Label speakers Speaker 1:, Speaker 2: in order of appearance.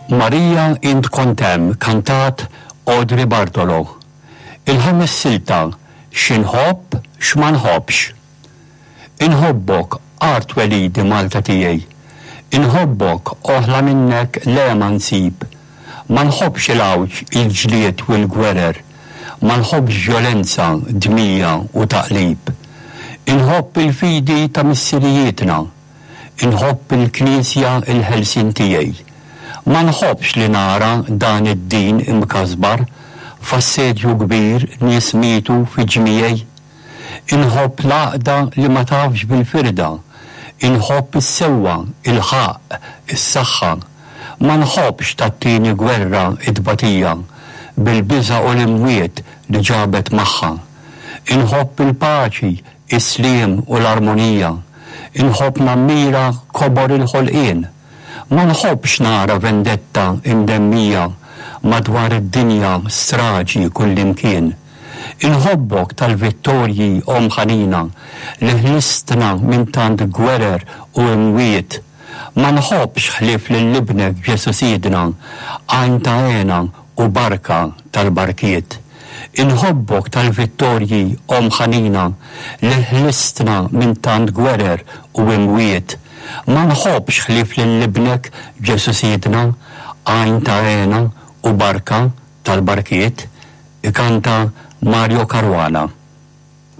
Speaker 1: Marija int kont hemm kantat Audrey Bartolo. Il-ħames silta Xi nħobb, x'ma nħobbx. Inħobbok, art twelidi Malta tiegħi. Inħobbok, oħla minnek le ma nsib. Ma nħobbx il-għawġ, il-ġlied u l-gwerer. Ma nħobbx vjolenza, dmija u taqlib. Inħobb il-fidi ta' missirijietna. Inħobb il-Knisja il-ħelsien tiegħi. Ma nħobbx li nara dan id-din imkasbar, f'assedju kbir nies mietu fi ġmiegħi. Inħobb l-għaqda li ma tafx bil-firda. Inħobb is-sewwa, il-ħaqq, is-saħħa. Ma nħobbx tat-tieni gwerra t-tbatija, bil-biża' u l-imwiet li ġabet magħha. Inħobb il-paċi, is-sliem u l-armonija. Inħobb nammira kobor il-ħolqien. Ma nħobbx nara vendetta imdemmija madwar id-dinja straġi kullimkien. Inħobbok tal-vittorji Omm ħanina li ħlistna minn tant gwerer u imwiet. Ma nħobbx ħlief lil Ibnek Ġesù Sidna, għajn ta' hena u barka tal-barkiet. Inħobbok tal-vittorji Omm ħanina li ħlistna minn tant gwerer u imwiet. Ma nħobbx ħlief lil Ibnek Ġesù Sidna, għajn ta' hena u barka tal-barkiet. Ikanta Mario Caruana.